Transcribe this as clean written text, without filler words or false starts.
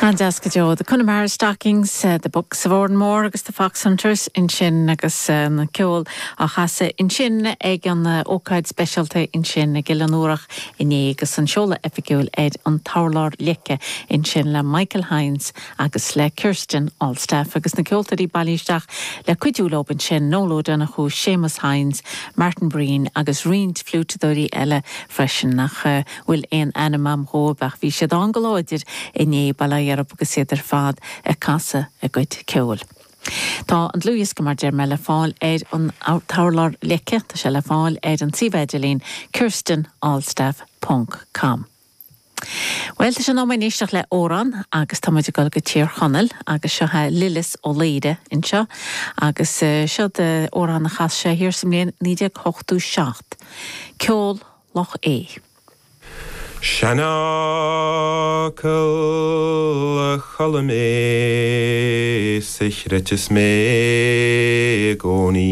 An-deas go deo. The Connemara Stockings, The Bucks of Oranmore agus The Foxhunters ansin agus an ceol á chasadh ansin ag an ócáid speisialta ansin ag Oileán Iúrach inné agus an seoladh oifigiúil ar an t-urlár leice ansin le Michael Hynes agus le Kirsten Altstaff agus na ceoltóirí bailithe isteach le cuidiú leo ansin, Noel Ó Donnchú, Séamus Hynes, Martin Breen agus roinnt fliúiteadóirí eile freisin nach bhfuil aon ainm a'm dhóibh ach bhí siad ann go láidir inné, bail ó Dhia orthu agus iad ar fad ag casadh a gcuid ceoil. Tá an dlúthdhiosca mar deir mé le fáil ar an t-urlár leice, tá sé le fáil ar an suíomh idirlín kirstenalstaff ponc com. Bhuel, tá sé in am againn éisteacht le amhrán agus tá muid ag dul go Tír Chonaill agus seo é Lillis Ó Laoire anseo agus seo amhrán a chas sé thiar sa mbliain 1987, Ceol Loch Aodha. Seanfhocal a chuala mé 's a chreidfeas mé i gcónaí.